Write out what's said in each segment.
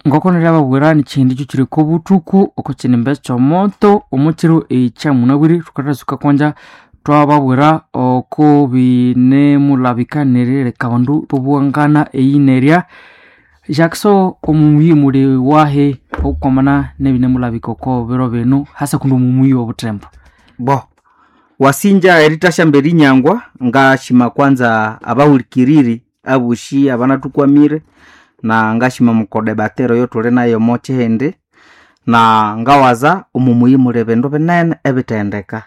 Ngoko neriababwira nikyihindi kyo kobuthuku oko kinimba ekyomoto omukiro ekyamunabwire thukathasuka kwanja twababwira oko binemulabika nerileka abandu bobuwangana eyinerya Jackson omumuyi muli wahi okwamana nebinemulabika oko biro binu hasa kundi omumuyi wobuthembo. Bo wasinja eritashyamba erinyangwa ngashima kwanza abahulikiriri aboshi abanathukwamire na ngashima mukodebatero eyotuli nayo omo kihindi na ngawaza omumuyi muli bindu binene ebithendeka.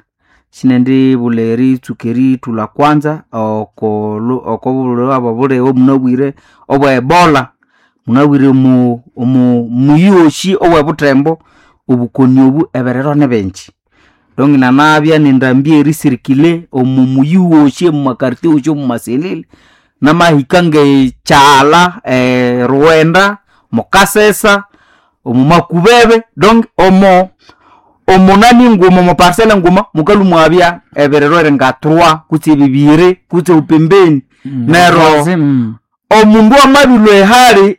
Sinendibulha eritsuka erithulha kwanza okobulhwere obuliwe munabwire obwa ebola. Munabwire omu muyi wosi owebuthembo obukoni obu ebiriro nibingi. Donc nanabya nendambi erisirikile omu muyi wosi omumakartie wosi omumaselile namahika ngekyaghalha eRughenda, mukasesa, omumakubebe donc omo omunani nguma omoparcelle nguma mukalhwa imwabya ebiriro eringa trois kutse bibiri kutse pembeni. Neryo omundu amabilhwa ehali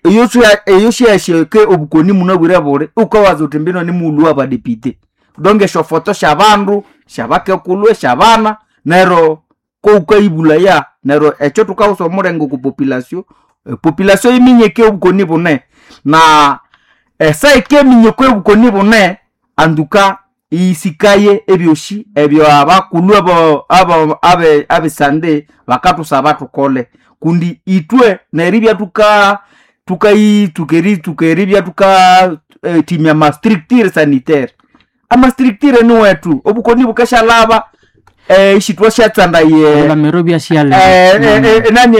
eyosyahike obukoni munabwire buli wukawaza wuthi mbino nimughulhu wabadepite. Donc esyofoto syabandu, syabakekulhu, esyabana neryo kowukayibulhaya neryo ekyo thukawusa omulenge oko population, epopulation yiminyeke obukoni bune. Na esaa yikiminya okobukoni bune antuka iyisikaye ebyosi ebyabakulhu abesande bakathusaba thukole kundi ithwe neribya thuka thukayitsuka eritsuka eribya thuka thimya amastructure sanitaire. Amastructure niwethu obukoni bukasyalhaba isithwasyatsandaya Ebilamiro ibyasiyaleka. nani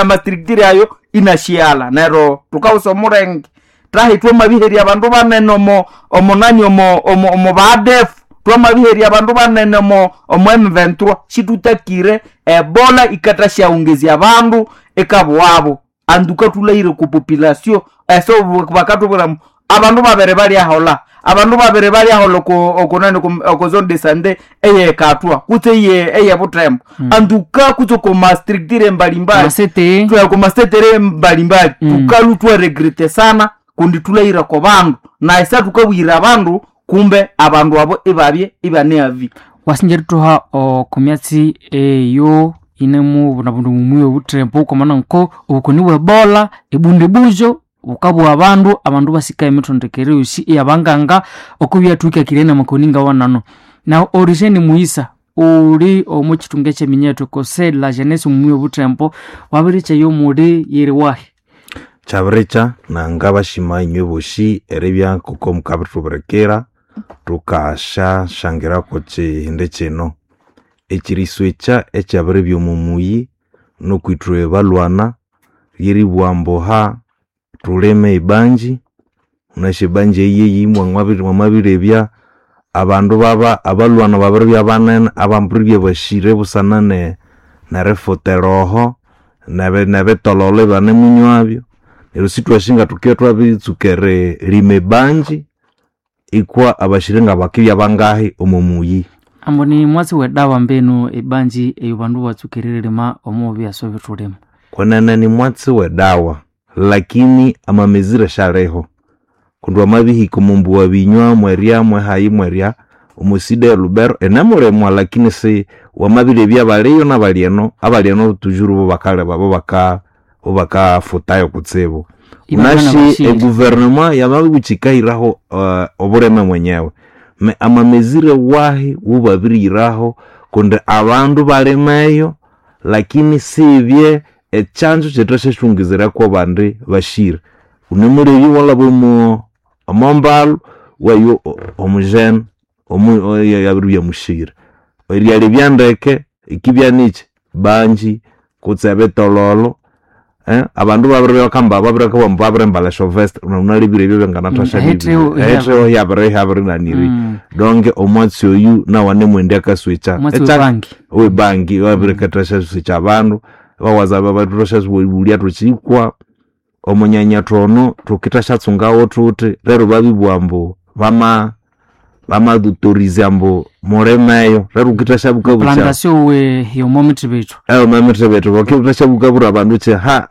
amastructure ayo inasyighalha neryo thukawusa omulenge thahi twamabiherya abandu banene omo omonani omo omo badefu twamabiherya abandu banene omo omo M23 situtakire ebola ikathasyawungezya abandu ikabughabo. Antuka thulahire oko population eso bakathubwira ambu abandu babiri balyaholha, abandu babiri balyaholha oko okonani oko zone de sante eyekathwa kutse eyebuthembo. Antuka kutse oko mastructure mbalimbali Amasete oko masetere mbalimbali thukalhwa ithwaregrete sana kundi thulahire oko bandu na esa thukabuyira abandu kumbe abandu abo ibabye ibane avi. Wasinja erithuha oko myatsi eyo yinemubunabunda omumuyi wobuthembo kwamana nko obukoni bwe ebola ebundibujo bukabugha abandu, abandu basika emithondekere yosi eyabanganga okubyathwikakirye namakoni ngawanano. Nahu Origene Mughisa uli omo kithunga ekyeminyethu conseil de la jeunesse omumuyi wobuthembo wabirikya eyomuli yiri wahi? Kyabirikya nangabashima inywe bosi eribya ngoko mukabithubirikira thukasyasyangirako kihindi kino. Ekiriswekya ekyabiribya omo muyi nukwithwe balhwana lyeribugha ambu ha thulime ebanji, wunasi ebanji eyi yeyi mwamabirebya abandu baba abalhwana babiribya banene abambiribya basire busana nerifuta eroho nebitololo ibanemunywabyo. Neryo sithwasi ngathukibya thwabiritsuka eririma ebanji ikwa abashire ngabakibya bangahi omo muyi. Ambu ni mwatsi wedawa mbinu ebanji eyo bandu batsuka eririma omo byaso ebithulima. Kwenene ni mwatsi wedawa lakini amamezire syaliho kundi wamabihika omombuwa binywa mwerya mwehayi mwerya omosida e Lubero inemulimwa lakini si wamabirebya abaliyo nabalyeno abalyeno tujuru bo bakaleba bo baka bo bakafutayo kutsibu. Ibabya Wunasi nabashiri. eguvernema yamabibugha yikahiraho obulime mwenyewe me amamezire wahi wubabirihiraho kundi abandu balimeyo lakini sibye ekyanzu kyithasyasyungizirako abandi bashire. Wunemulebya iwalhaba omo omombalu wayo omujene yabiribya mushire. Eryalebya ndeke ikibya nikyi banji kutse ebitololo abandu babiribya bakamba babiribya ambu babirimbalha esyovest wunalebire ebyo byanganathasya Ehitheho hiabirinaniri donc omwatsi oyu nawu anemwendi akaswekya Omwatsi webangi. webangi wabirikathasyaswekya abandu bawaza bathasyaghulya thukyikwa omunyanya thono thukithasyatsungawo thuthi lero babibugha ambu bama Bamadutorize ambu mulimeyo rero ukitashabuka bucha Plantation we yomo bethu. Eyo mamithe vakitashabuka bura abandu che ha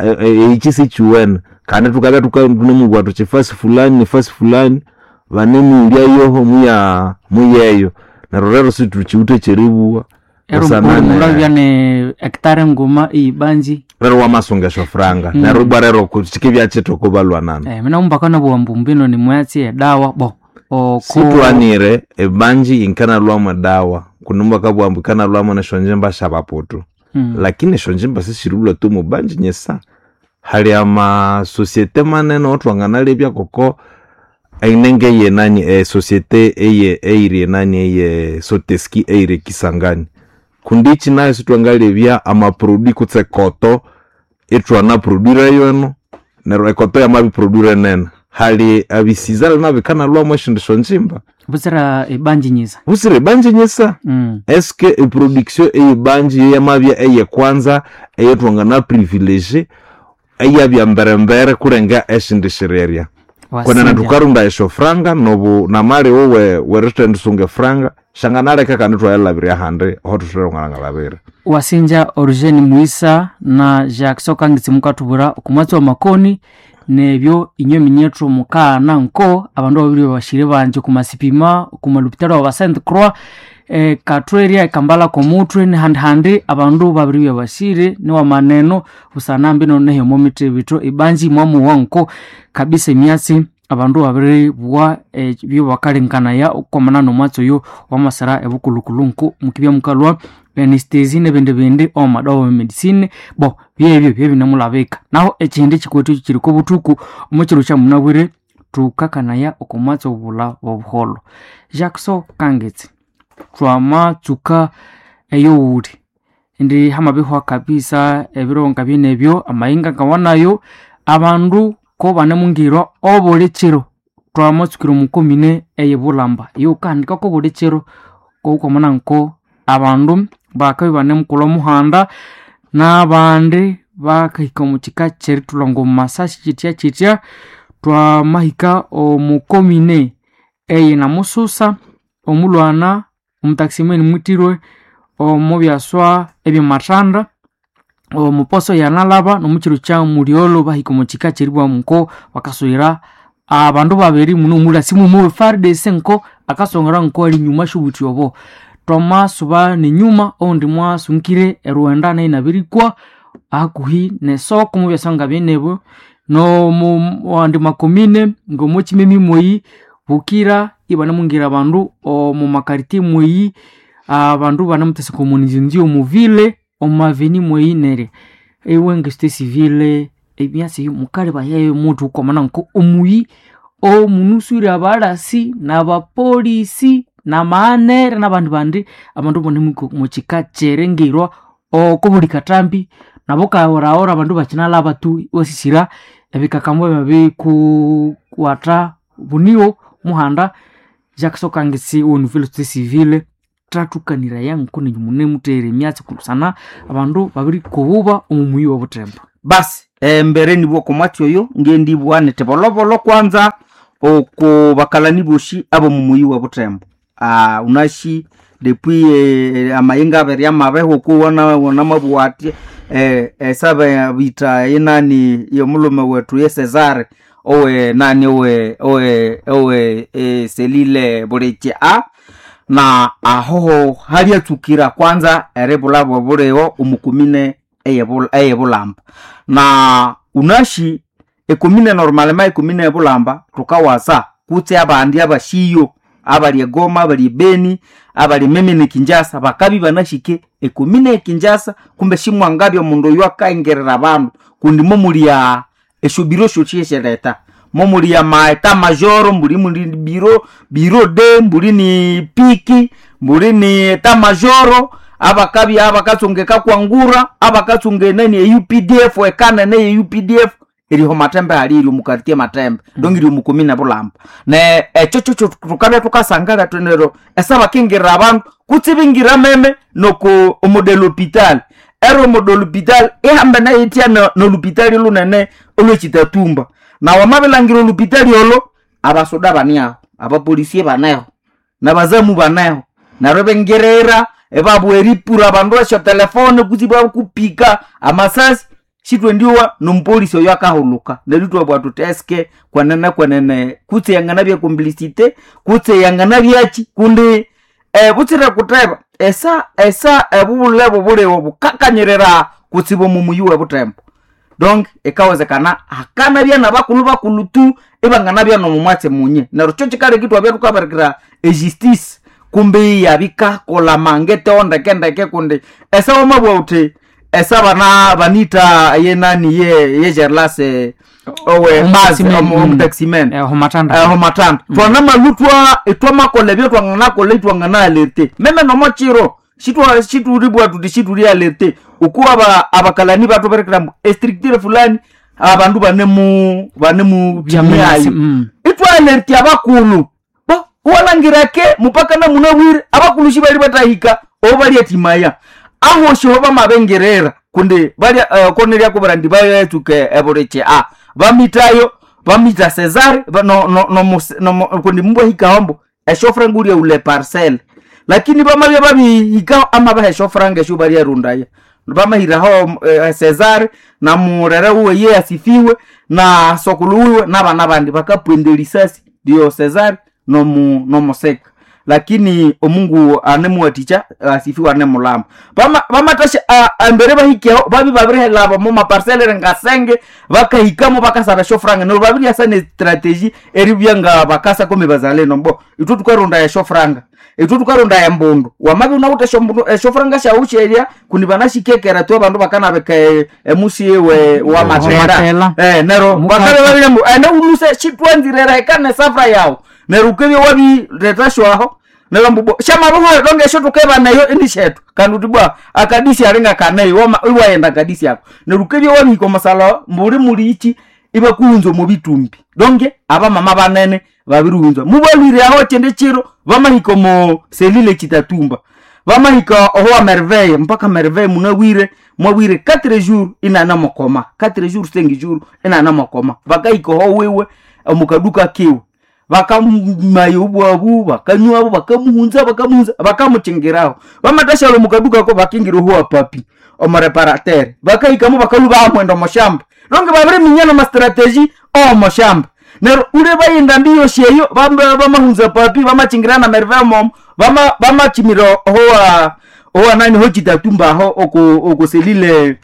ichi sichiwene kandi tukabya tukanemubwa tuchi fasi fulani fasi fulani vanemulya yoho muya muyeyo neryo rero situchiwithe kyeribugha. Ero Busana mulabya ne hectare nguma ibanji. Rero wamasunga eshofuranga neryo ibwa rero kikibya kyitoko balwanana. Mina umbaka nabuwa mbumbino ni mwatsi edawa bo oko. Sitwanire ebanji inkanalwamu edawa kunumba kabwambu ikanalwamu neshonjimba syabaputu. Lakini eshonjimba sisirilwa tu mubanji nyesa hali amasosiete manene otwanganalebya koko einenge yenani esosiete eye eiri enani eye soteski eiri Kisangani kundi ichi nayo sitwangalebya amaprodi kutse koto itwana produire yono neryo ekoto yamabiproduire nene hali abisizale nabikanalwamu eshindu shonjimba. Butsira ebanji nyisa. Busire ebanji nyisa. Eske eproduction eyebanji yeyamabya eyekwanza eyetwangana privilege eyabya mberembere kurenga eshindi shirerya kwenene? Wasinja. Tukarunda esyo franga nobu namali wowe werithendisunga efranga shanganaleka kandi twayalabirya ahandi aho thutherong'angalabira. Wasinja Origene Muisa na Jacques Okangitsi mukathubwira okumwatsi wa makoni nebyo inywe minyethu mukaghana nko abandu babiri bashire banje kumasipima kumalupitalo wa Saint Croix katweria ekambala komuthwe nihandi abandu babiri bashire niwa maneno busanambi nonehe omo mithe bithu ibanji mwamuwa nko kabisa emyatsi abandu babiri bwa byo bakalenkanaya okwamana nomwatsi oyo wamasara ebukulukulu nko mukibya mukalwa anestesi nebindi bindi omumadawa medicine bo byebyo byebinamulabika naho ekindi kikwethu kiri kobuthuku omukiro kyamunabwire thukakanaya okomwatsi obula bobuholho. Jackson Kangetsi, twamatsuka eyowuli indi hamabihwa kabisa ebiro nga byenebyo amahinga ngawanayo abandu ko banemungirwa obuli kiro twamatsukira omukomine eyebulamba iyo ukahandika ko buli kiro koukwamana nko abandu bakabya banemukolha omuhanda n'abandi bakahika omu kika kyerithulha omu masasi kitya kitya. Twamahika omu komine eye namususa omulwana omutakisimeni mwitirwe omu byaswa ebyamathanda omuposo yanalaba nomukiro kya mulyolo bahika omu kika kyeribwamu nko bakaswera abandu babiri muno omulasi mumu FARDC nko akasongera nko ali nyuma shubuthi obo twamasuba nenyuma oundi mwasunkire eruwenda nayo inabirikwa hakuhi nesoko mubyaswa nga byenebyo nomu makomine ngomokimemi mweyi bukira ibanemungira abandu omu makariti mweyi abandu banemutheseka omu omuvile omumaveni mweyi neryo iwe ngesite civile emyatsi eyo mukalebayayo muthu ukwamana nko omuyi omunuswire abalasi nabapolisi namaanere nabandi bandi abandu bane mukika kyerengirwa oko buli katambi nabo kaworawora abandu bakinalaba tu iwasisira ebikakambo byabikukwata buniwo muhanda. Jacques Kangesi wo nouvelle société civile thathukaniraya nko nenyu munemuthere emyatsi kusana abandu babirikobuba omu muyi wobuthembo. Basi embere nibwo komwatsi oyo ngendibwa niti bolobolo kwanza oko bakalani boshi abo mumuyi wa butembo unashi depuis amayenga abiri amabeho oko wana wanamabwa ati esabe bita yenani yomulume wetu ye Cesare owe nani owe owe owe selile buleche a na ahoho haliatsukira kwanza eribulabo buliwo omukumine eyebulamba na unashi ekumine normalema ekumine ebulamba tukawasa kutse abandi abashiyo abali egoma abali ebeni abali meme Kinjasa bakabi banashike ekumine ekinjasa kumbe shimwangabya omundu oyo akaengerera abandu kundi momulia esyo biro syosyesheleta momulia maeta majoro mbuli muli biro biro de mbuli ni piki mbuli ni eta majoro abakabi abakatsungeka kwangura abakatsunga enani e UPDF ekanene e UPDF iriho matembe hali iri mukartie matembe dongi iri mukumina bulamba ne ekyo kyo tukabya tukasangala twenero esabakingirira abandu kutsi bingira meme noko omodelo hopital ero omodelo hopital ihambe nayo itya nolupitali lunene olwekitatumba na wamabilangira olupitali olo abasoda baniaho abapolisie baneho. Nabazamu baneho neryo ibingirira ibabwa eripura abandu esyo telefone kutse ibakupika amasasi sitwendiwa nomupolisi oyo akahuluka. Neryo ithwabugha thuthi eske kwenene kwenene kutse yanganabya complicité kutse yanganabyachi kundi butsire kutheba esa esa ebubulebu buliwo bukakanyirira kutsibu omu muyi w'ebuthembo. Donc ikawezekana hakanabya nabakulhu bakulhu tu ibanganabya nomumwatsi munye. Neryo kyo kikaleka ithwabya thukabirikira ejustice kumbi iyabikakolha mangete ndeke ndeke kundi esa wamabugha wuthi esa bana banita yenani ye ye Gerlas owe basi omutaximan homatanda homatanda twanamalutwa itwamakola ebyo twanganakola itwangana alerte meme nomochiro shitwa shituribwa tuti shituri alerte ukuwa aba abakalani batuberekera mbu estructure fulani abandu banemu banemu Byamenasi, ayo itwa alerte abakulu bo walangira ke mupaka na munabwire abakulu shibali batahika obo bali etimaya aho shiho bamabengerera kundi bali koneria kubara ndi bayetsuke ebuliche a bamitayo bamita Cesar ba, no, no, no, no, no, kundi mbwahika hombo eshofra nguria ule parcel lakini bamabya babihika amabaha eshofranga esho balyarundaya bamahiraho Cesar na murere uwe ye asifiwe na sokulu uwe n'abana bandi bakapwenda erisasi ndiyo Cesar nomu nomuseka lakini omungu anemuwaticha asifiwe anemulamba bamatasha embere bahikeho babi babirihelaba mu maparcelere ngasenge bakahikamo bakasaba eshofranga neryo babiryasa ne strategy eribya nga bakasa komi bazalendo mbo ithwe thukarunda eshofranga ithwe thukarunda embundu wamabya unawithe esyombundu eshofranga syawu syerya kundi banashikekera tu abandu bakanabika emusi we wa matera Matela. nero Muka- bakabya babirya mbu ene uluse shitwanzire reka nesafra yawu neryo ukebya wabireta shwaho neryo mbu bo shamabuhwa donge esyo tukeba nayo ini shetu kandi uti bwa akadisi alinga kaneyo wama iwayenda akadisi ako neryo ukebya wabihika omusala mbuli muli ichi ibakuhunza omu bitumbi donge abamama banene babirihunza mubalwire aho kyende kiro bamahika omu selile kitatumba bamahika oho wa merveille mpaka merveille munabwire mwabwire 4 jours inana mukoma 4 jours 5 jours inana mukoma bakahika oho wiwe omukaduka kiwe bakamaya obwabu bakanywabo bakamuhunza bakamuhunza bakamuchingiraho bamatashala mukaduka ko bakingira oho wa papi omureparatere bakahikamo bakalu bamwenda omushamba donge babiriminya namastrategy omushamba neryo ule bayinda mbi yosi eyo bamahunza papi bamachingira na merveille momo bamachimira ohowa owa nani ho chitatumba aho oku okuselile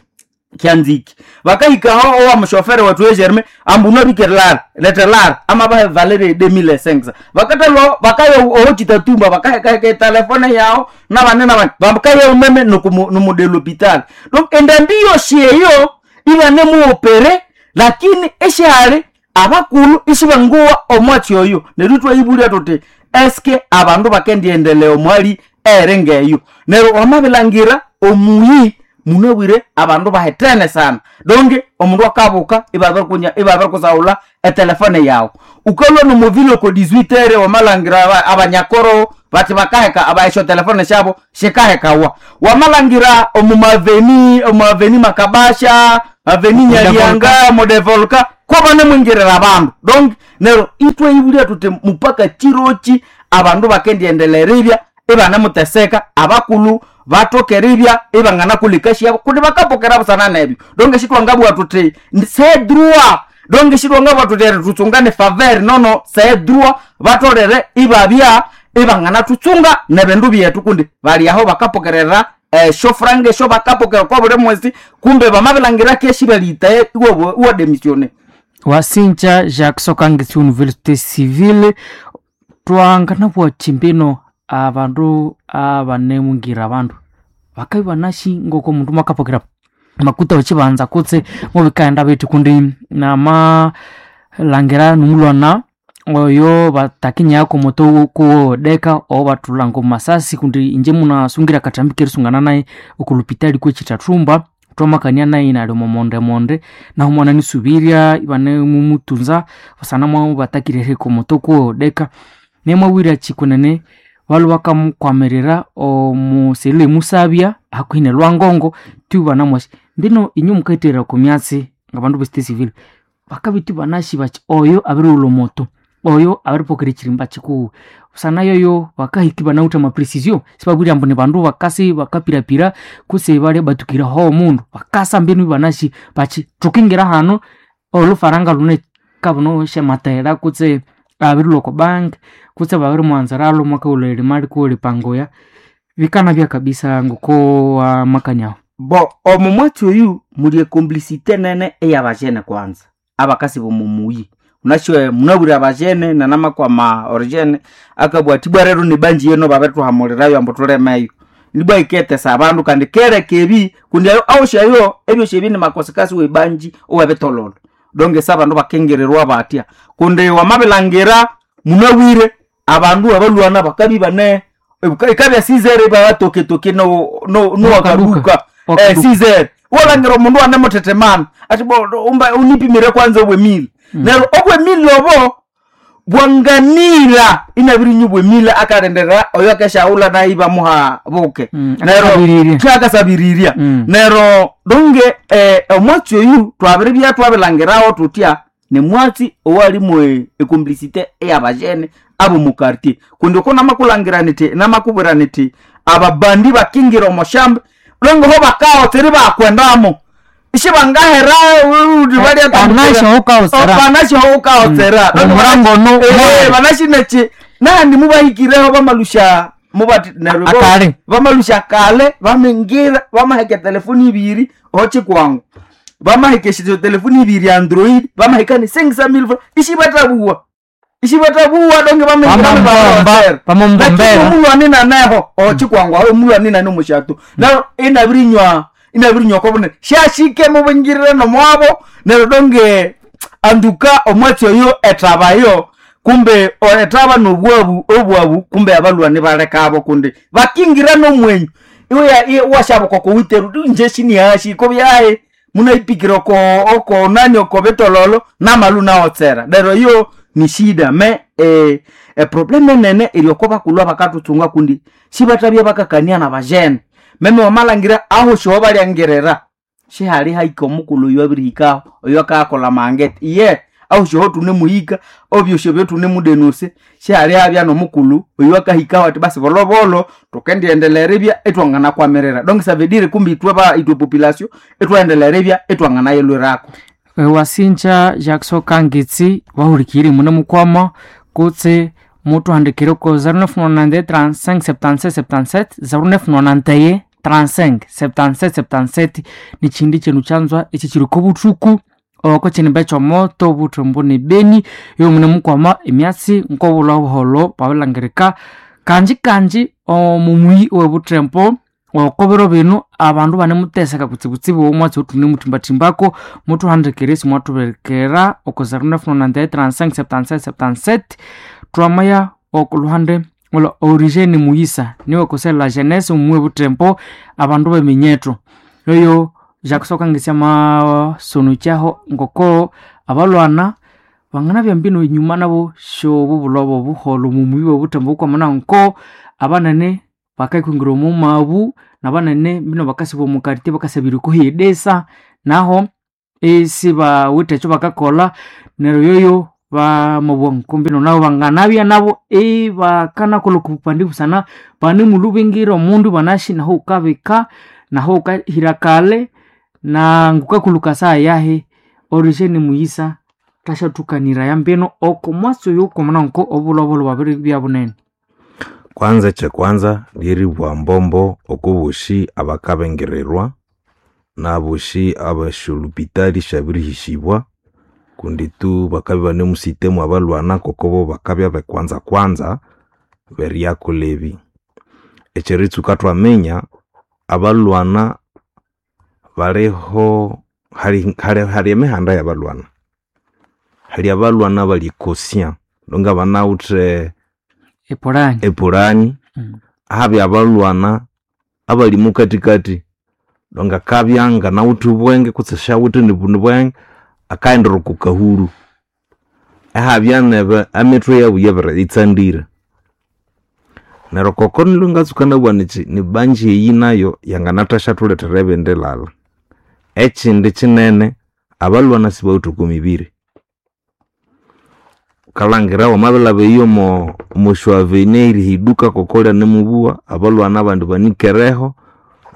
kyanziki bakahikaho owa mushofere wethu we Germain ambu unabikelar letelar ama bahe valere 2500 bakatalo bakaya oho chitatumba bakahekaheka telefone yao nabane nabane bakaya umeme numudelo hospital donc endambi yosi eyo ibane muopere lakini eshali abakulu isibanguwa omwatsi oyo neryo twayibulya tuti eske abandu bakendiendelea omwali ere ngeyo neryo wamabilangira omuyi munabwire abandu bahetene sana donge omundu akabuka ibabirikunya ibabirikusaghulha etelefone yawu ukalwa nomuvile oko 18 ere wamalangira abanyakoro bati bakaheka aba esyo telefone syabo sikahekawa wamalangira omumaveni omumaveni makabasha aveni nyalianga modevolka ko banemwingirira abandu donc neryo itwaibulya tuti mupaka chirochi abandu bakendiendeleribya ibanemuteseka abakulu batokeribya ibanganakulika syabo kundi bakapokera busana nebyo donc shitwangabugha tuti c'est droit donc shitwangabugha tuti eri tutsungane faveur nono c'est droit batolere ibabya ibanganatutsunga nebindu byethu kundi bali aho bakapokerera esyo franga esyo bakapokera kwa buli mwezi kumbe bamabilangira keshi balitaye iwa démissionner wasinja Jacques Sokangesi Université Civile twanganabwa chimbino abandu abanemungira abandu bakabi banashi ngoko omundu mwakapokera makuta wechibanza kutse mubikaenda bithi kundi nama langira numulwana oyo batakinyako moto kuwodeka o batulanga omumasasi kundi inje munasungira akatambi kerisungana naye okulupitali kwechitathumba twamakania naye inali omomondemonde naho mwana nisubirya ibane mumutunza basana mwa batakirere komoto kuwodeka nemwawira chikunene balu bakamukwamirira omuselule emusabya hakuhi ne lwangongo tu banamwasi mbino inyu mukaitera komyatsi ngabandu besite civil bakabiti banashi bachi oyo abiriwula omoto Oyo abiripokera ekirimba kikuwu busana yoyo bakahika ibanawithe amaprecision sibabwire ambu ni bandu bakasi bakapirapira kutse balya batukire aho omundu bakasa mbinu ibanasi bachi thukingira hano olufaranga lune kabuno syamatera kutse abirilwa oko bank kutse babirimuwanziralwo mwakaghulha erimali kuwelipangoya bikanabya kabisa ngoko amakania aho. Bo omo mwatsi oyu muli ecomplicité nene eyabajene kwanza abakasi bomomuyi unasyo munabwire abajene nanamakwama origene akabwa ati bwa rero nibanji yeno babirituhamulirayo ambu tulemeyo nibwa iketesa abandu kandi kereka ebi kundi ayo awosyayo ebyosi ebi nimakosekasi webanji owebitololo donge sa abandu bakengererwa batya kundi wamabilangira munabwire abandu abalwana bakabi bane ikabya sizere babatoketoke no no Wakaduka. nowakaduka Wakaduka. sizere walangira omundu anemutetemana ati bo umba unipimire kwanza obwemili neryo obwemili obo bwanganira inabirinywa obwemili akalenderera oyo akeshaghulha naye ibamuha buke neryo akasabiriria. kyakasabiriria neryo donge omwatsi oyu twabiribya twabilangirawo tutya nimwatsi owalimu ecomplicité eyabajene abomukartie kundi oko namakulangira niti namakubwira niti ababandi bakingira omoshamba longe ho bakawotseri bakwendamo ishibangahera Banasho banasho ukawotsera Omurango ono mwali. banashinechi nandi mubahikireho bamalusha mubati neryo bo- Akale. bamalusha kale bamingira bamaheka telefoni ibiri ochikwangu bamaheka esyo telefoni ibiri android bamaheka ni 600,000 ishibatabuwa ishibatabuwa donge Bamamubomba- bamambombera. bamulwani naneho ochikwangu aho mulwani nane omushatu neryo inabirinywa inabirinywa kobune shashike mubingirire nomwabo neryo donge anduka omwatsi oyo etabayo kumbe etaba nobwabu obwabu kumbe abalwani balekabo kundi bakingira nomwenyu iwe washabuka kowiteru nje shinihashi kobyaye munaipikira oko oko nani oko betololo namalu naotsera lero iyo ni shida me eprobleme enene eri oko bakulwa bakatutsunga kundi shibatabya bakakania na bajene meme wamalangira aho shiho balyangerera shihali haika omukulu oyo abirihikaho oyo akakola mangete iye aho shiho tunemuhika obyosyo byotunemudenuse shihali habya nomukulu oyo akahikaho ati basi bolobolo tukendiendelera ibya etwanganakwamirira donc ça veut dire kumbi itwe ba itwe population etwaendelera ibya etwanganayelwerako Wasinja Jackson Kangitsi wahulikiri mune mukwama kutse mutuhandikire ko 0991 35 77 77 0991 35 77 77 ni chindi chenu chanzwa ichi chiri ko buthuku oko chinimba chomoto buthombo ni beni yo mune mukwama emyatsi nkobulwa buholo babilangirika kanji kanji omumuyi webuthembo okobero bino abandu banemuteseka kutsibutsibu omwatsi otune muthimbathimbako mutuhandikire simwathuberekera oko 0991 35 77 77 twamaya okuluhande olwa origene muyisa niwe kosela jeunesse omumwe buthembo abandu beminyetho yoyo jakusoka ngesya masono kyaho ngoko abalwana banganabya mbino enyuma nabo syobu bulobo buholo mumuyi bwebuthembo bukwamana nko abanene bakaikwingira omu mabu nabanene mbino bakasiba omu kartie bakasabira okuhidesa naho isibawithe ekyo bakakolha neryo yoyo bamabugha nko mbino nabo banganabya nabo ibakanakolha okubupandi busana banemulubingira omundu ibanashi naho wukabika naho wukahira kale na ngukakuluka saha yahi origene muyisa thashathukaniraya mbino oko mwatsi oyu kwamana nko obulobolo bwabiribya bunene. Kwanza ekyekwanza lyeribugha mbombo okobosi abakabengererwa nabosi abasyolupitali syabirihisibwa kundi tu bakabya ibanemusitemu abalwana kokobo bakabya bekwanza kwanza beryakolha ebi. Ekyeritsuka thwaminya abalwana baliho hali hali emihanda yabalwana. Hali abalwana abali conscient nonga banawithe Epurani. epurani habya abalwana abali mukathikathi nonga akabya nganawithe obwenge kutse syawithe nibuni bwenge akaghendera oko kahuru ihabya nebe emithwe yabu yabiritsandira. Neryo koko nilwe ngatsuka nabugha nyithi nibanji eyi nayo yanganathasyathuletera ebindi lhalha. Ekindi kinene abalwana sibawithe oko mibiri. Ukalangira wamabilaba eyo omo avenue erihiduka kokolya nemubuwa abalwana abandi banikereho,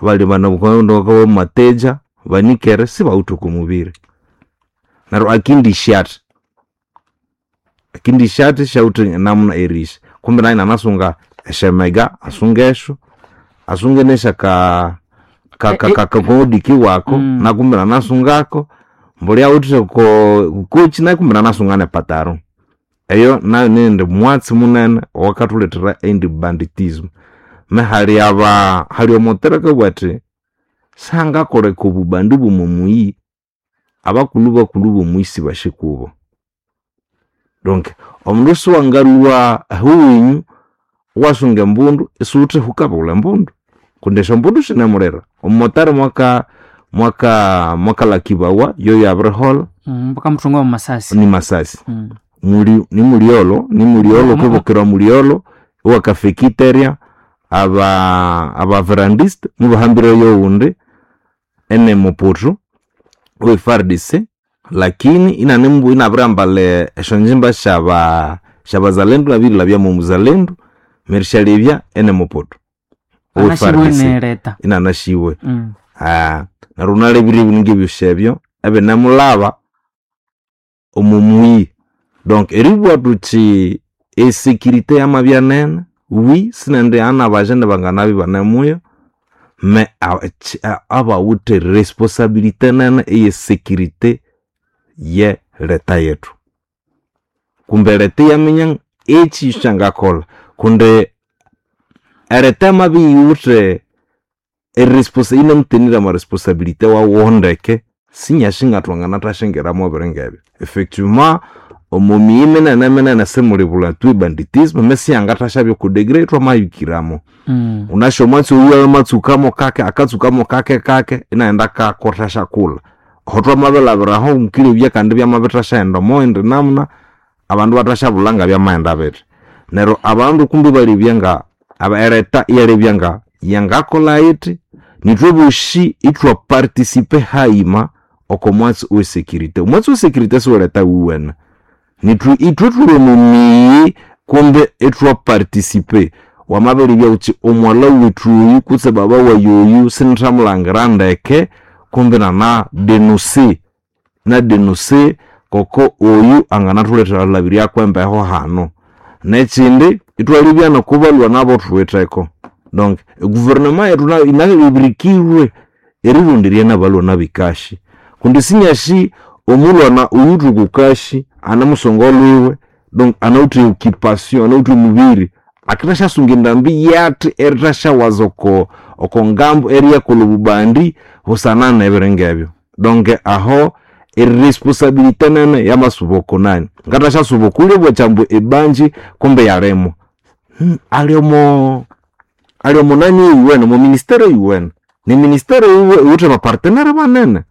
abandi banamumateja banikere sibawithe oko mubiri. Neryo akindisyathi, akindisyathi syawithe namuna erisya kumbe nayu inanasunga esyamega asungesyo, asunge nesyaka kakodiki wako nakumbe inanasungako, mbuli awithe oko kochi nayu kumbe inanasunga nepataro. Eyo nayu niyindi mwatsi munene owakathulethera eyindi banditism. Me hali aba hali omutere akabugha athi sihangakoleka obubandi bwomwamuyi abakulhu bakulhu bomuyi sibasikubo. Donc omundu siwangalhwa ahuwenyu iwasunga embundu isiwuthe hukabughulha embundu kundi esyombundu sinemulira. Omumotari mwaka mwakalakibawa yoyo abiriholha. Bakamuthunga mwamasasi. Ni masasi. Muli nimulyolo nimulyolo kwibukira mulyolo iwakafekiterya abaverandiste mubahambireyo owundi ene muputu owe FARDC lakini inanimbu inabiriambalha esyonjimba syaba syabazalendu nabirilhabya mwomuzalendo nerisyalyebya ene muputu owe Anasibwe FARDC nereta. inanasiwe. Neryo wunalebire ebindu ngebyosi ebyo ebinemulhaba omwamuyi. Donc eribugha thuthi esecurity yamabya nene wi sinendi hana abajene banganabya ibanemuyo me abawithe responsibility nene eye security ye leta yethu. Kumbe leta iyaminya ekyi kyangakolha kundi ereta yamabya iyiwithe inamutenire ama responsibility wawu ndeke sinyasi ngathwanganathasyingiramu ebiringa ebyo. Effectivement omo miyi minene minene simulibulha tu ebanditism mesiyangathasyabya oko degree thwamayikiramu. Wunasi omwatsi oyu amatsukamo kake akatsukamo kake kake inaghenda akakothasyakulha. Aho thwamabilhabiraho mukilebya kandi byamabithasyahenda omoyindi namuna abandu ibathasyabulha ngabyamaghenda bithi. Neryo abandu kumbi ibalebya nga ereta iyalebya nga yangakolha yithi nithwe bosi ithwa participe hayima oko mwatsi owe security. Omwatsi owe security siweleta wuwene. Nithwe ithwe thuli omo miyi kumbe ithwa participe. Wamabiribya wuthi omwalha wethu oyu kutse baba wayi oyu sinithamulhangira ndeke kumbe inana denonce, inadenonce koko oyu anganathulethera erilhabiryako embeho hanu. Nekyindi ithwalebya nokubalhwa nabo thuwitheko. Donc eguverinema yethu nayu inabirikirwe erironderya nabalhwana bekashi kundi sinyasi omulhwana oyu thukukashi anemusunga olhwiwe donc anawithe occupation anawithe omubiri akithasyasunga endambi yathi erithasyawaza oko okongambu eriyakolha obubandi busana nebiringa ebyo. Donc aho eresponsabilité nene yamasuba okonani ngathashyasuba okulya bwakyambu ebanji kumbe yalimwa. Ali omo ali omo nani eyuwene omo ministere eyuwene ni ministere iwithe abapartenere banene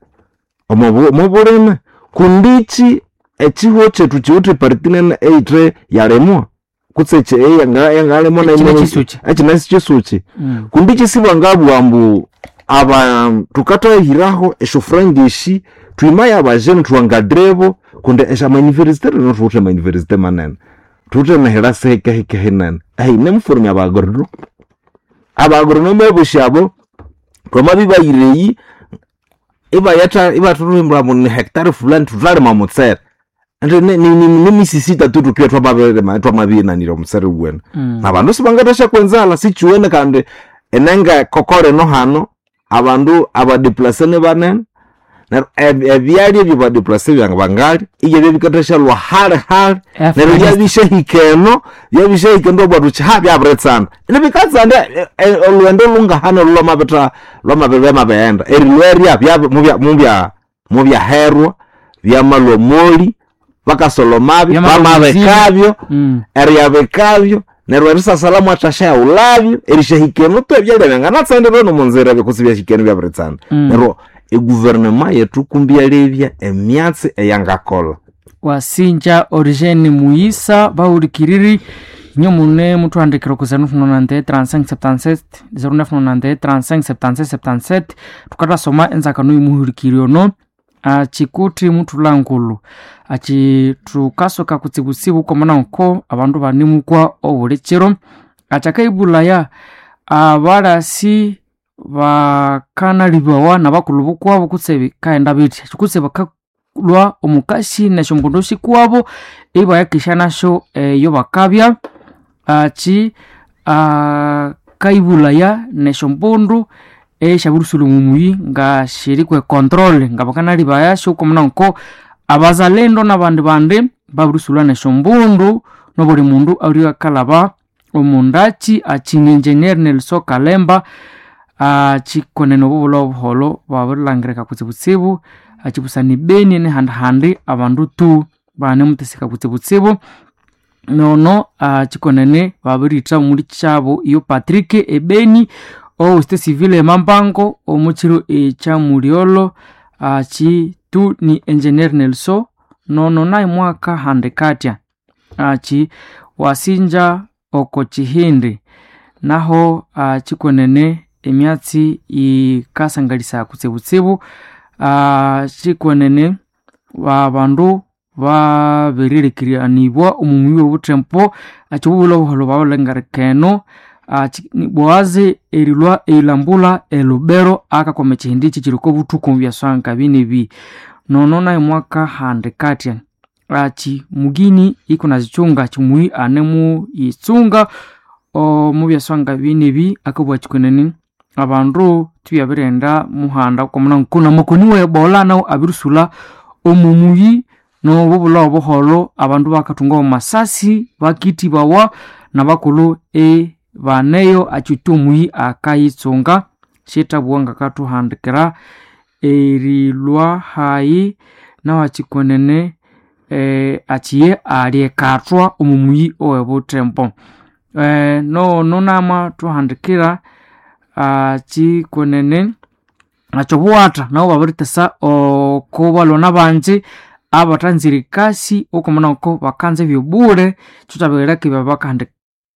omobulime kundi ikyi ekihugho kyethu kyiwithe eparty nene eyithe yalimwa kutse eyangalimwa Ekine kyisuki. ekine sikyisuki. Kundi ikyi sibangabugha ambu aba thukathahiraho esyofuranga esi thwimaye abajene thuwangadirebo kundi esyamayuniversity rino thuwithe amayuniversity manene. Thuwithe emihira sihikehike hinene eyinemuformya abaagronome. Abaagronome abosi abo thwamabibayira eyi ibayatha ibathuhimbira ambu ni hectare fulani thuthalima omutsere. Indi nimisisi ithathu thukibya thwamabirima thwamabinanirya omutsere wuwene. Nabandu sibangathasyaku enzalha sikiwene kandi enenga kokoro eno hano abandu abadeplase nibanene neryo ebyalya ebyabadeplase bangalya ibyabya bikathasyalywa hali hali neryo byabisyahika eno byabisyahika eno iwabugha thuthi ha byabiritsanda nibikatsanda olhughendo lhungahano olhu lwamabitha lwamabighenda erilhwerya mubyaherwa byamalhwa omoli bakasolomabyo bamabikabyo eryabikabyo neryo erisasala mwathasyahulhabyo erisyahika eno tu ebyalya byanganatsandira nomunzira kutse ibyahika eno ibyabiritsanda. Neryo eguverinema yethu kumbi iyalebya emyatsi eyangakolha. Wasinja Origene Muyisa bahulikiriri inyo mune muthuhandikira oku 0991 35 77 0991 35 77 77 thukathasoma enzakano yomuhulikiri ono. Achikuti muthulangulu achi thukasoka kutsibutsibu kwamana nko abandu banemukwa obuli kiro. Achakaibulaya abalasi bakanalibawa nabakulhu bukwabo kutse bikaghenda bithi kutse bakalhwa omukasi nesyombundu sikwabo ibayakesya nasyo eyo bakabya. Achi akaibulaya nesyombundu esyabirisülha omumuyi nga shiri kwe control ngabakanalibayasyo kwamana nko abazalendo nabandi bandi babirisulha nesyombundu nobuli mundu alwe akalhaba omundakyi. Achini engineer Nelson Kalemba achikonene obubulha obuholho babirilhangirika kutsibutsibu achibusana ebeni nehandihandi abandu tu banemutheseka kutsibutsibu. Nono achikonene babiritha omuli kyabo iyo Patrick ebeni owesite civil emambango omukyiro ekyamulyolho. Achi tu ni engineer Nelson nono naye mwaka handikatya achi wasinja oko kyihindi naho achikonene emyatsi yikasangalisa kutsibutsibu. Achikonene abandu babirirekeranibwa omumuyi obuthembo achibubulha obuholho babirilhangirirka eno. Boazi erilhwa erilambula elubero akakwama ekyihindi ekyi kyiri okobuthuku omubyaswa ngabinebi. Nono naye mwaka handikatya achi mugini ikunazichunga chimuyi anemuyitsunga omubyaswa ngabinebi akabugha chikonene abandu thubyabighenda muhanda kwamana namakoni we Ebola nawu abirisulha omumuyi nobubulha obuholho abandu bakathunga omumasasi bakithibawa nabakulhu ibaneyo achiwithe omuyi akayitsunga. Syithabugha ngakathuhandikira erilhwa hayi nahu achikonene achiye alyekathwa omumuyi owebuthembo. Nono namathuhandikira achikonene achobuwatha nabo babirithesa oko balhwana banji abathanzire ekasi okwamana ngoko bakanza ebyobule kyo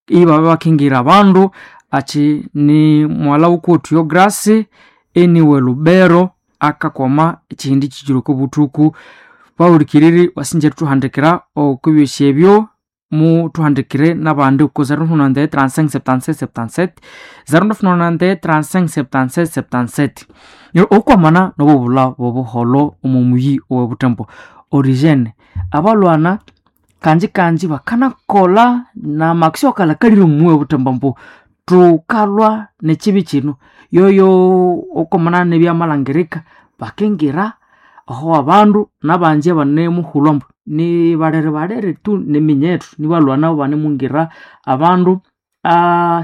ibabya bakingira abandu. Achi ni mughalha wukuwethu yo Grace eniwe Lubero akakwama ekyihindi kyikyiri okobuthuku. Bahulikiriri wasinja erithuhandikira okubyosi ebyo muthuhandikire nabandi ku 093 35 77 77 093 35 77 77. Neryo okwamana nobubulha bobuholho omomuyi owebuthembo origene abalhwana kanji kanji bakanakolha namakisyo akalhakalire omuyi owebuthembo ambu thukalhwa nekyibi kyino yoyo okwamana nebyamalhangirika bakingira aho abandu nabanji abanemuhulhwa ambu nibalere tu niminyethu nibalhwana banemungira abandu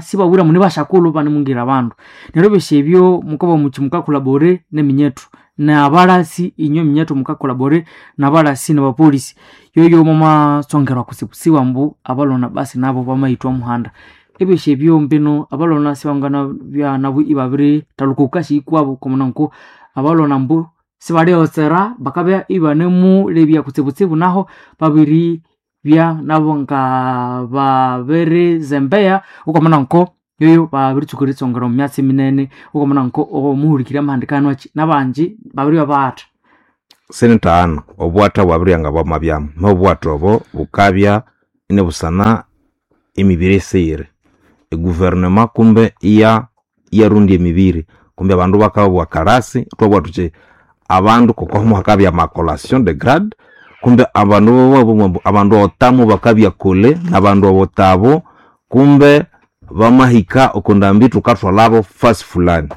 sibabwire ambu nibasyakulhu banemungira abandu. Neryo ebyosi ebyo mukabugha muthi mukakolabore neminyethu nabalasi inywe eminyethu mukakolabore nabalasi nabapolisi yoyo mwamatsongerwa kutsibutsibu ambu abalhwana basi nabo bamayithwa omuhanda. Ebyosi ebyo mbino abalhwana sibanganabya nabo ibabirithalhuka okukasi ikwabo kwamana nko abalhwana ambu sibalyotsera bakabya ibanemulebya kutsibutsibu naho babiribya nabo nga babirizembeya okwamana nko yoyo babiritsuka eritsongera omu myatsi minene okwamana nko omuhulikiriri amahandikano akyi nabanji babiribya bahatha. Sinithahana obwatha bwabiryanga bwamabyamu nobwatha obo bukabya inibusana emibiri esiyiri. Eguverinema kumbe iya iyarondya emibiri kumbe abandu bakabugha kalasi ithwabugha thuthi abandu koko hakabya amacollation de grade kumbe abandu bababugha ambu abandu otamu bakabya kule nabandu obutabo kumbe bamahika okundambi thukathwalabo fasi fulani.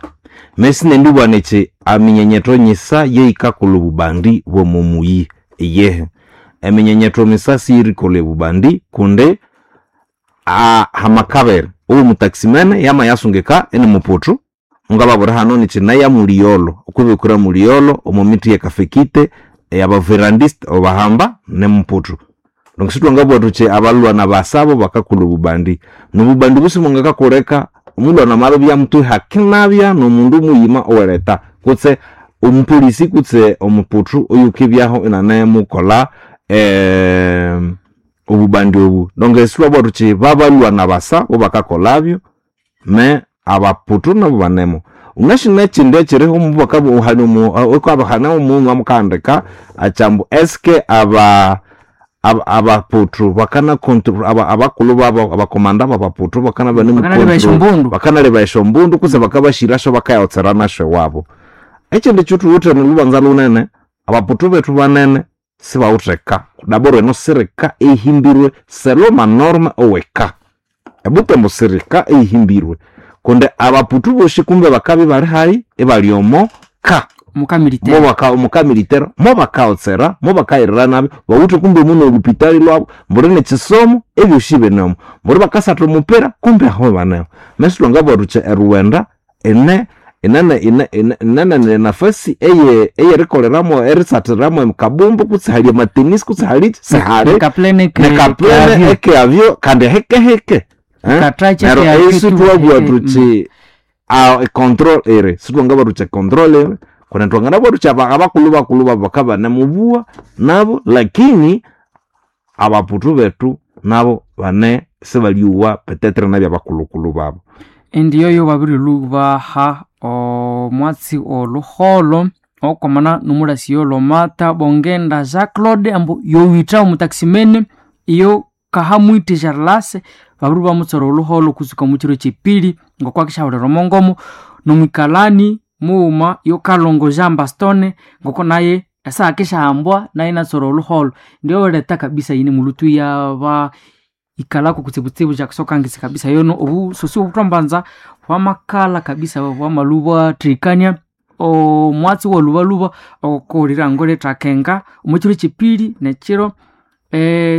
Mesinendibugha nithi eminyenyetho nyisa yeyikakolha obubandi bwomumuyi iyehe. Eminyenyetho misa siyirikolha obubandi kundi hamakabere owo mutaximene yamayasungika inimuputhu mungababwira hano nithi naye muliyolo okwibikura muliyolo omo mithi yekafekite eyabaverandiste obahamba nimuputhu. Donc sithwangabugha thuthi abalhwana basabo bakakolha obubandi nobubandi busimungakakoleka omulhwana amabibya muthu hakinabya nomundu muyima owereta kutse omupolisi kutse omuputhu oyukibyaho inanemukolha obubandi obu. Donc sithwabugha thuthi babalhwana basa bobakakolhabyo me abaputhu nabo banemo. Unashina chindi echiriho mubakabuhana omungu amukandika achambu eske aba abaputu bakana control abakulhu babo abakomanda babaputu bakana bane Bakanaleba esyombundu. Bakanaleba esyombundu kutse bakabashirasyo bakayotsera nasyo wabo. Ekindi kyothuwithe nolubanza lunene, abaputu bethu banene sibawutheka daboro eno sirika eyihimbirwe selo manorme oweka ebutembo sirika eyihimbirwe kundi abaputu bosi kumbe bakabya ibali hayi ibali omo ka Mukamiliteri. Mukamilitera mobakaotsera mobakayirira nabyo bawithe kumbe muno olupitali lwabo mbuli nekisomo ebyosi binemo mbuli bakasatha omupira kumbe aho baneho mesilhwangabugha thuthi eruwenda ine inene ine ine inene nafasi eye eyerikoleramu erisathiramu kabumbu kutse hali amatenisi kutse haliki sihali Nekaplene nekaplene ekeavyo kandi hekeheke. Katrache Neryo keavyo eyi tu sitwabugha heke, thuthi control eri sitwangabugha thuthi control eri kundi thwanganabugha thuthi abakulhu bakulhu babu bakabanamubuwa nabo, lakini abaputu bethu nabo bane sibalyowa petetre nabya abakulhukulhu babu. Endiyoyo babirilubaha omwatsi oluholo okwamana nomulasi yolomata bongenda Jacques Claude ambu yowitha omutaximene iyo kahamwite Charles babiri bamutsora oluholo kusuka mukiro kyepili ngokwakishaholera omongomo nomwikalani mughuma yokalongo Jean Bastone ngoko naye esahakishahambwa naye natsora oluholo. Ndiyo leta kabisa yine mulutu yaba ikalako kutsibutsibu jakusokangisa kabisa yono obusosi obuthwambanza bwamakala kabisa bwamaluba thikania omwatsi wolubaluba okokolira lethakenga omwekiro kyepili nekiro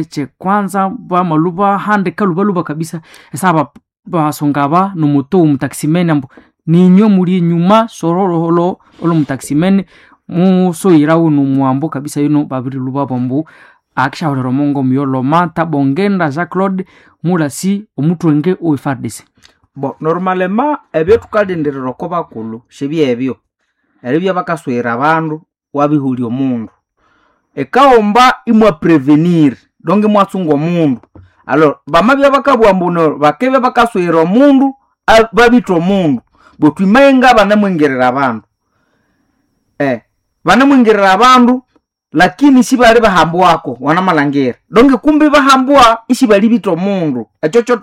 kyekwanza bamaluba handika lubaluba kabisa esaba basunga aba nomuto omutaximene ambu ninywe muli enyuma sorololo olwomutaximene musoyirawo nomuhambo kabisa yono babiriluba bambu akishaholera omongo muyolomata bongenda Jacques Claude mulasi omuthwenge owe FARDC. Bo normalema ebyo thukalindirira oko bakulhu sibyebyo eribya bakaswera abandu wabihulya omundu ekaghomba imwa prevenir donc imwatsunga omundu. Alors bamabya bakabugha ambu neryo bakibya bakaswera omundu babitha omundu bothu imayenga banemwingirira abandu, banemwingirira abandu lakini sibali bahambwako wanamalhangira donc kumbi bahambwa isibalibitha omundu. Ekyo kyo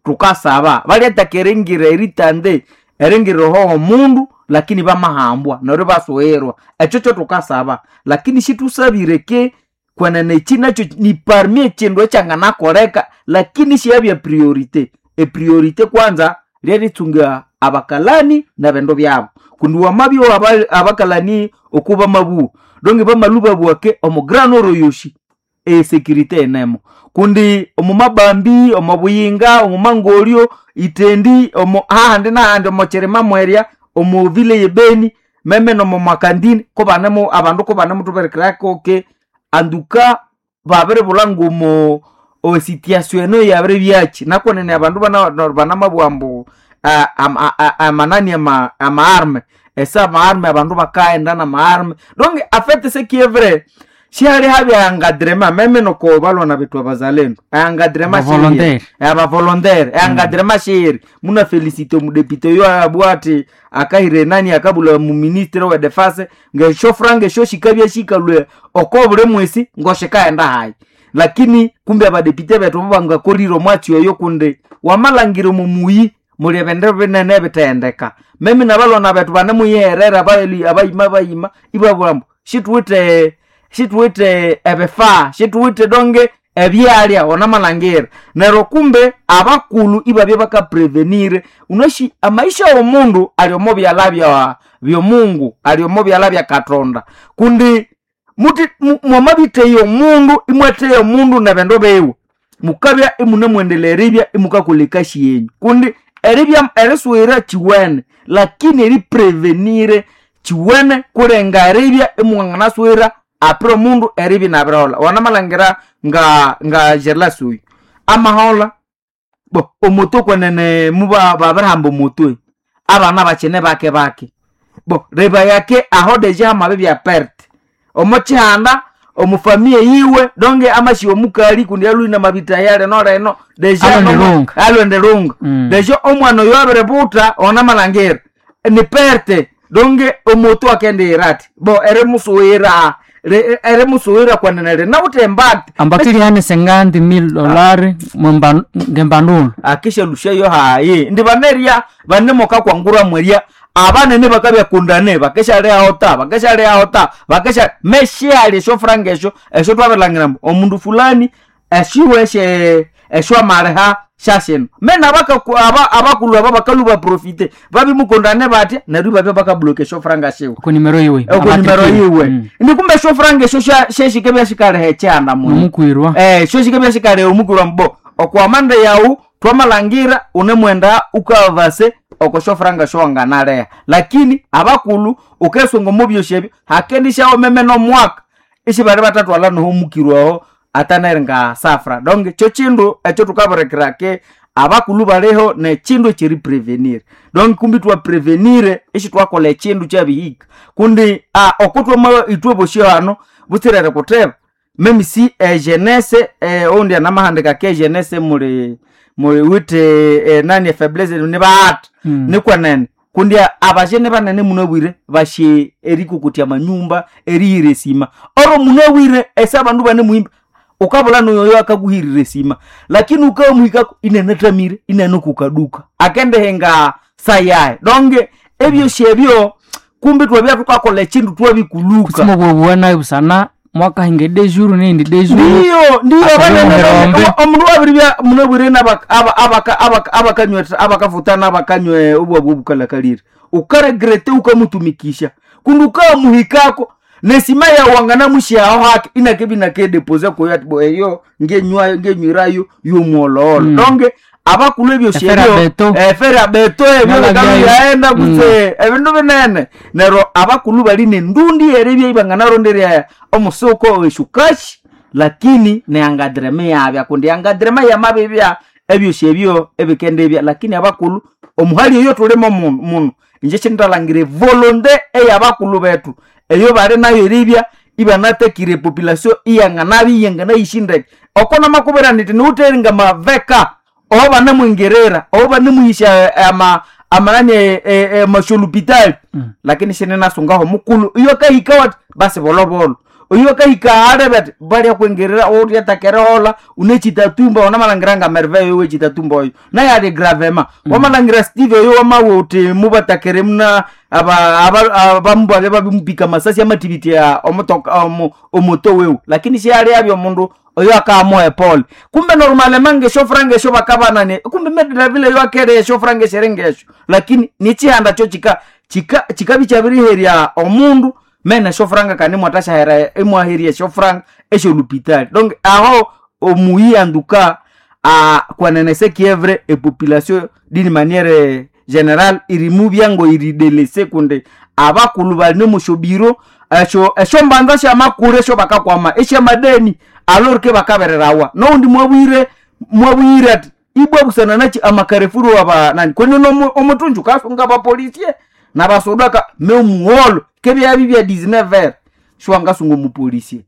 thukasaba balyathaka eringira eritande eringira oho omundu lakini bamahambwa neryo ibasugherwa. Ekyo kyo thukasaba lakini sithusabire ke kwenene eki nakyo ni parmi ekindu ekyanganakoleka lakini siyabya priorite. Epriorite kwanza lyerithunga abakalani nebindu byabu kundi wamabya abakalani oku bamabugha donc bamalhwa babugha ke omu grand nord oyosi esecurity enemo kundi omu mabambi omu buyinga omu mangolyo itendi omu hahandi nahandi omu kirima mwerya omu vile yebeni meme nomu makandini kubanemu abandu kubanemuthuberekerako ke anduka babiribulha ngomo esituation eno yabiribyaki nakwenene abandu banamabugha ambu amanani amaarme esa amaarme abandu bakaghenda namaarme donc afete ce qui est vrai sihali habya encadrement meme noko balwana bethu abazalendo encadrement Abavolontaire. abavolontaire encadrement shiri muna felicite omudepite oyo abugha athi akahira enani akabulha muministre we defense ngesyo franga esyo shikabya shikalhwe oko buli mwesi ngoshikaghenda hayi lakini kumbe abadepite bethu bo bangakolire omwatsi oyo kundi wamalhangira omo muyi muli ebindu binene ebithendeka. Meme nabalwana bethu banemuyigherera abayima bayima ibabugha ambu shithuwithe ebifaa shithuwithe donge ebyalya wanamalhangira neryo kumbe abakulhu ibabya bakaprevenire unashi amaisha womundu ali omo byalha byomungu ali omo byalha bya Katonda kundi muti mwamabitheya omundu imwatheya omundu nebindu biwe mukabya imunemwendelea eribya imukakolha ekasi yenyu kundi eribya erisughira kiwene lakini eriprevenire kiwene kulenga eribya imwanganasughira apre omundu eribya inabiriholha. Wanamalhangira nga Gerlas oyu amaholha bo omuto kwenene muba babirihamba omutwe abana bakine bake bake bo reba yake aho deja hamabibya perte omo kihanda omufamiye yiwe donge amashiwa omukali kundi alwine amabita yaleno leno deja Alwende lunga. alwende lunga. Deja omwana oyo abiributha onamalhangira Ni perte donge omoto akendira ati bo erimusuwira erimusuwira kwenene rinawuthe embate. Ambakili hane $50,000 ngembandulo. Akishalushayo hayi ndi banerya banemoka kwangura mwerya abanene bakabyakundane bakeshalehao ta bakeshalehao ta bakesha meshiali esyo franga esyo esyo twabilangira mbu omundu fulani eshiwe eshe esyo amaliha syashino mena abakulhu aba bakalhu baprofite babimukundane batya neryo ibabya bakabloka esyo franga shiwe. Oko nimero yiwe. Oko nimero yiwe. Ndi kumbe esyo franga esyo syeshikebya shikaleha ekyanda muno. Nomukwirwa. Syo shikebya shikaleha omukwirwa mbo okwamanda yawu twamalangira unemwenda ukavase oko syofranga syowanganaleha, lakini abakulhu ukesunga omo byosi ebyo hakendisyawo meme nomwaka isibali batatwala noho omukirwaho ataneringa safra. Donc kyo kindu ekyo tukabirikira ke abakulhu baliho nekindu ekyeriprevenir. Donc kumbi twaprevenire isitwakolha ekindu kyabihika kundi okutwama ithwe bosi hano butsirere kutheba meme si ejenese oundi anamahandika ke ejenese muli muli withe nani efaiblesse nibaghata. Nikwenene kundi abajene banene munabwire bashe erikokotya amanyumba erihira esima oro munabwire ese abandu banemuhimba ukabula noyoyo akakuhirira esima lakini ukamuhikako inanathamire inanakukaduka akendihinga sayaye donge ebyosi ebyo kumbi twabya thukakolha ekindu twabikuluka. Kutsima obwobugha nayo busana mwakahinga edejuru neyindi dejuru. Ndiyo ndiyo. Akabya abanene omuherombe. Omundu wabiribya munabwire abakanywa abakafutana abakanywa obwabwa obukalakalire ukaregrete ukamutumikisha kundi ukamuhikako nesima yawanganamusyaho hake inakebi nakedepose kuyo ati bo eyo ngenywayo ngenywirayo yomuololo. Donge abakulhu ebyosi Efera ebyo beto. Efera beto ebyo Nala bikalu byayo. yaenda kutse ebindu binene neryo abakulhu bali nendundi eribya ibanganaronderya omusuko weshukashi lakini neangadirema yabya kundi yangadirema yamabibya ebyosi ebyo ebikendibya lakini abakulhu omuhali eyo tulimo muno inje sindalhangira evolonte eyabakulhu bethu eyo bali nayo eribya ibanatakire epopulation iyanganabya iyanganayishindeke oko namakubwira niti niwutheringa maveka oho banemwingerera oho banemuhisya amanani amasholupitali. Lakini sininasungaho mukulhu iyo akahika wati basi bolobolo oyo akahika alebe ati balya kwingerera oulyatakerihola unechitatumba wanamalhangira nga merveille oyo wechitatumba oyo naye ali gravema. Wamalhangira Steve oyo wamawe uthi mubatakere muna abamu babya babimupika masasi amathibitya omutoka omoto wewu lakini syali abya omundu oyo akamuha epole kumbe normalema ngesyofranga esyo bakabanania kumbe medravile eyo akere esyofranga esyaringesyo lakini nichihanda kyo chika chika chikabya kyabiriherya omundu mene esyofranga kandi imwathasyaghera imwaherya esyofranga esyolupitali. Donc aho omuyi anduka kwenene sekievre epopulation d'une manière générale irimubya ngo iridelese kundi abakulhu bali musyobiro esyo esyombanza syamakuru esyo bakakwama esyamadeni alors ke bakabererawa noundi mwabwire mwabwire ati ibwa busana nachi amakarefuru aba nani kwenye omutunju kasunga abapolisie nabasodaka memuholo kebyabi bya 19h shwangasunga omupolisie.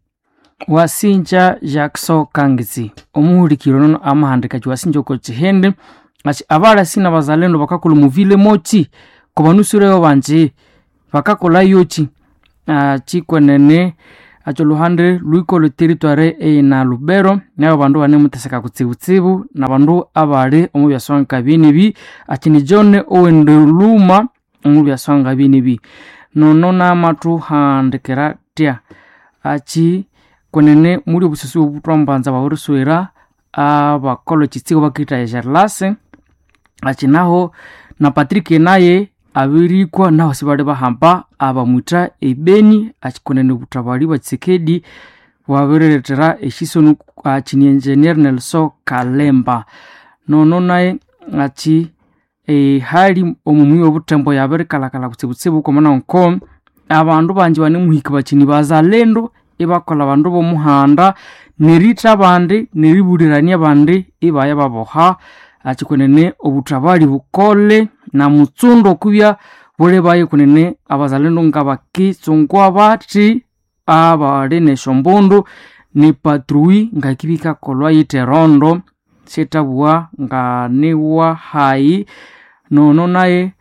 Wasinja Jackson Kangitsi omuhulikiro nono amahandika wasinja oko chihende achi abalasi na bazalendo bakakola muvile mochi kobanusureyo banji bakakola yochi chikwenene acho luhande lwiko territoire eyina Lubero nayo bandu banemuteseka kutsibutsibu na bandu abali omu byaswanga binibi achi ni John Owende Luma omu byaswanga binibi nono namathuhandikira tya achi kwenene muli obususu obutwambanza baburiswera abakolha ekitsigo bakitha ejarlase achi naho na Patrick naye abirikwa naho sibali bahamba abamwitha ebeni achi kwenene obuthabali bwa Tshisekedi bwabirilethera eshisoni achi ni engineer Nelson Kalemba nono naye achi ehali omumwi obuthembo yabirikalhakalha kutsibutsibu kwamana nko abandu banji banemuhika bachini bazalendo ibakolha abandu bomuhanda neritha abandi neribulirania abandi ibaya baboha achikwenene obuthabali bukole na mutsundo okubya bulibaye kunene abazalendo ngabakitsungwa bathi abali nesyombundu ni patrui ngakibikakolwa yithe erondo syethabugha nga niwa hayi nono naye.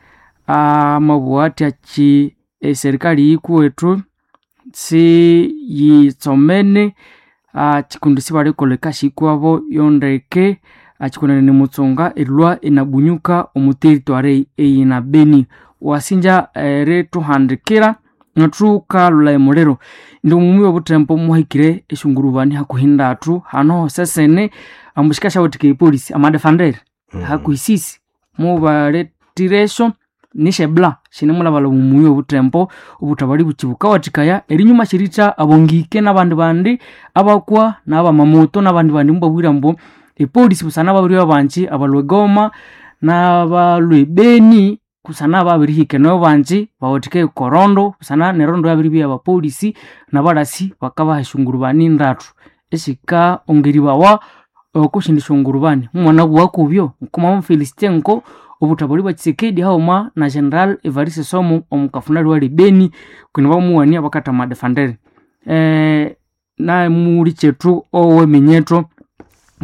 Amabugha athi akyi eserikali yikuwethu siyitsomene, kyikundi sibalikolha ekasi yikwabo yondeke, kyikonene ni mutsonga erilhwa inabunyuka omu territory eyina Beni. Wasinja erithuhandikira nethukalhulha emuliro. Indi omumi obuthembo muhikire esyongurubani hakuhi ndathu hano hosesene ambu sikasyawathikaya epolisi amadefendere hakuhi sisi mubaletiresyo nisyebla sinemulhabalhaba omuyi obuthembo obuthabali bukyi bukawathikaya erinyuma syeritha abongike nabandi bandi abakwa nabamamoto nabandi bandi mubabwire ambu epolisi busana babiribya bangi abalhwa egoma nabalhwa ebeni kusana babirihika eno bangi bawathikaye okorondo busana nerondo yabiribya abapolisi nabalasi bakabaha esyongurubani ndathu esikaongeribawa okosyindi syongurubani. Mumwanabugha kubyo ngoko ngo obuthabali bwa Tshisekedi haghuma na General Evariste Somo omukafunali wali Beni kwini bamuwania bakatha amadefendere. Namuli kyethu oweminyetho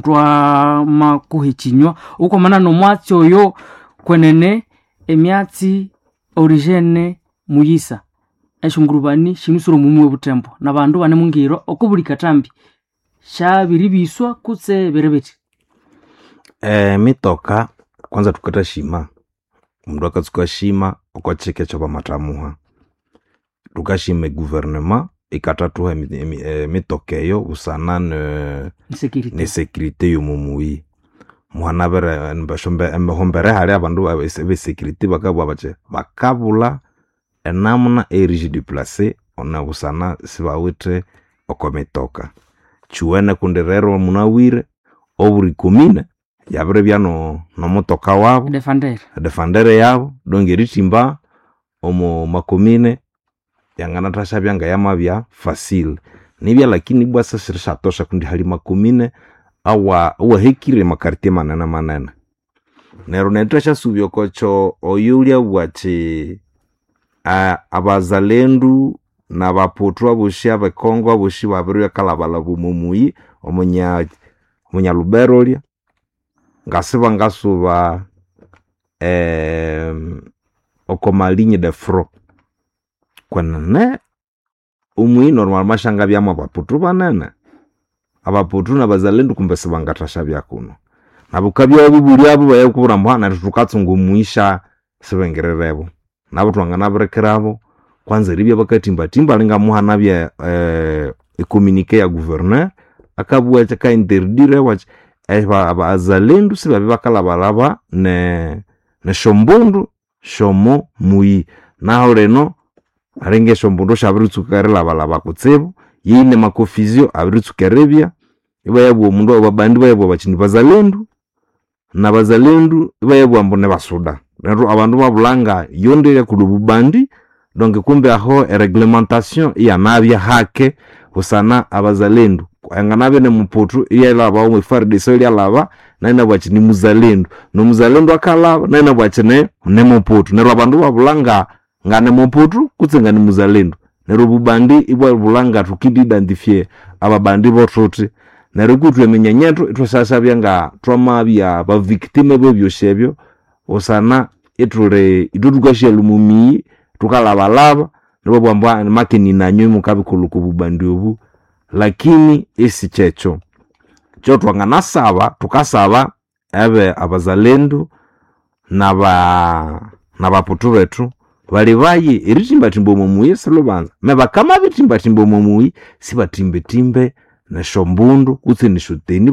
twamakuha ekinywa okwamana nomwatsi oyo kwenene emyatsi origene muyisa esyongurubani sinusire omumi obuthembo nabandu banemungiro okobuli kathambi syabiribiswa kutse biri bithi. Emitoka kwanza thukathashima omundu akatsuka shima okwa kyika ekyabamathamuha. Thukashima eguverinema ikathathuha emitoka eyo busana Insecurity. nesecurity yomomuyi. Muhanabire ehombere hali abandu abesecurity bakabugha bathi bakabulha enamuna eyerijideplace busana sibawithe okwamitoka. Kyuwene kundi rero munabwire obuli komine yabiribya nomutoka wabu Defender. edefendere yabu donc erithimba omo makomine yanganathashabya ngayamabya facile. Nibya lakini ibwa sisirisyathosha kundi hali makomine awahekire amakartie manene manene. Neryo neryo ithwasyasubya okokyo oyo wulyabugha athi abazalendu nabaputhu abosi abekongo abosi babiribya omo muyi omunyalubero olya ngasibangasuba oko maligne de front. Kwenene omuyi normalement syangabyamu abaputhu banene. Abaputhu nabazalendu kumbe sibangathashabya kuno. Nabu wukabya wabibulyabu ibayakubwira ambu neryo thukatsunga omuyi sibingirirebo. Nabu thwanganabirikirabo kwanza eribya bakathimbathimba alinga muhanabya ecommunique ya gouverneur akabugha athi akainterdire athi abazalendu sibabya bakalhabalhaba nesyombundu syomo muyi. Nahu lino alinga esyombundu syabiritsuka erilhabalhaba kutsibu, yine maconfusion abiritsuka eribya, ibayabugha omundu abandi ibayabugha bathi nibazalendu nabazalendu ibayabugha ambu nibasuda. Neryo abandu ibabulha yondi eyakuli obubandi donc kumbe aho ereglementation iyanabya hake busana abazalendu. Anganabya nimuputhu iyalhaba omo FARDC iryalhaba nayu inabugha athi nimuzalendu, nomuzalendu akalhaba nayu inabugha athi nimuputhu. Neryo abandu ibabulha nganimuputhu kutse nganimuzalendu. Neryo obubandi ibwabulha nga thukendi identifier ababandi bothuthi. Neryo kwithwe eminyanyethu ithwasyasabya nga thwamabya bavictime bebyosi ebyo busana ithuli ithwe thukasyalha omumiyi thukalhabalhaba ibabugha ambu makini nanywe mukabikolha oko bubandi obu lakini isikyekyo. Kyo thwanganasaba thukasaba ebe abazalendu nabaputhu bethu balibaye erithimbathimba omo muyi silhubanza me bakamabithimbathimba omo muyi sibathimbathimbe nesyombundu kutse nesyoteni.